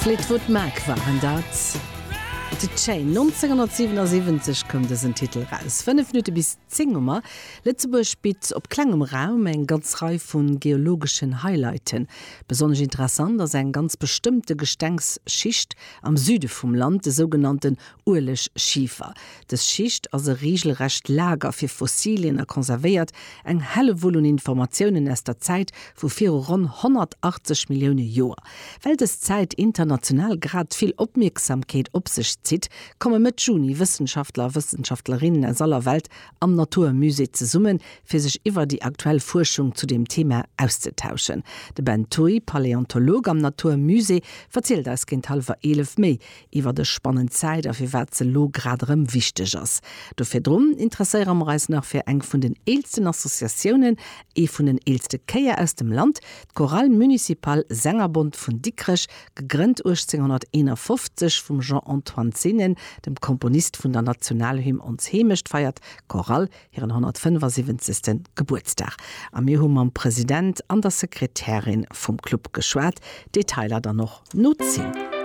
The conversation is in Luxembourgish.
Fleetwood Mac waren dat. The Chain. 1977 koum dësen Titel raus. 5 Minutte bis 10 hu mer. Lëtzebuerg bitt op klengem Raum eng ganz Rei vu geologeschen Highlighten. Besonnesch interessant ass eng ganz bestëmmte Gestengsschicht am Süde vum Land, de sougenannten Uelegschifer. Dës Schicht ass e reegelrecht Lager fir Fossilien a konservéiert eng Hellewull un Informatiounen aus der Zäit vu viru ronn 180 Millioune Joer. Well dës Zäit international grad vill Opmierksamkeet op sech zitt, komme Mëtt Juni Wëssenschaftler a Wëssenschaftlerinnen aus aller Welt am Natur Musée zesummen, fir sech iwwer déi aktuell Fuerschung zu deem Thema auszetauschen. De Ben Thuy, Paläontolog am Natur Musée, verzielt eis géint hallwer 11 méi iwwer dës spannend Zäit a firwat se elo grad erëm wichteg ass. Do virdrun interesséiere mer eis nach fir eng vun den eelsten Associatiounen, ee vun den eelste Chéier aus dem Land, d'Chorale Municipale Sängerbond vun Dikrech, gegrënnt 1851 vum Jean-Antoine Zinnen, dem Komponist vun der Nationalhymn Ons Heemecht, feiert d'Chorale hiren 175. Gebuertsdag. A mir hu mam President an der Sekretärin vum Club geschwat. Detailer dann och no 10.